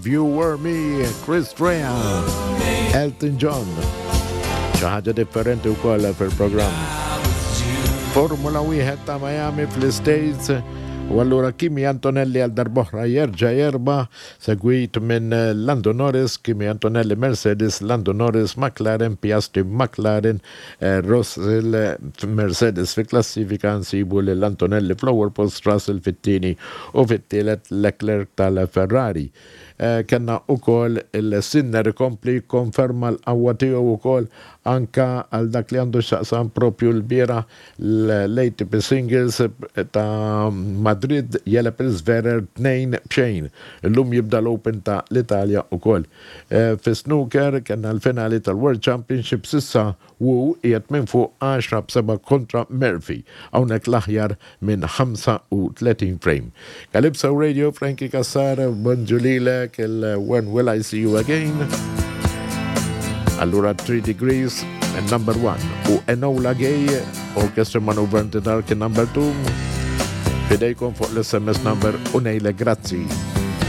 You Were Me, Chris Rea, Elton John. Xi ħaġa differenti wkoll fil-programm. Formula wieħed ta' Miami fl-States u allura Kimi Antonelli għal darboħra jerġa' jerba' segwit minn Lando Norris, Kimi Antonelli Mercedes, Lando Norris McLaren, Piastri McLaren, eh, Russell Mercedes fi klassifika nsibu lil Antonelli fl-ewwel post, Russell fit-tieni u fit-tielet Leclerc tal-Ferrari. Eh, Kenna ukoll il-Sinner ikompli konferma l-qawwa tiegħu ukoll anka għal dak li għandu x'jaqsam propju l-bieraħ l-ATP Singles ta' Madrid jeleb il-Zverev 2-0. Illum jibda l-Open ta' l-Italja ukoll. Eh, fi snooker kellna l-finali tal-World Championship s'issa Wu qiegħed minn fuq 10-7 kontra Murphy, hawnhekk l-aħjar minn 35 frame. Calypso Radio, Frankie Cassar, bonġu lilek, il-When Will I See You Again? Allura 3 Degrees, number 1, u Enola Gay, Orchestra Maneuver in the Dark, number 2. Fidejkom fuq l-SMS number u ngħidlek grazzi.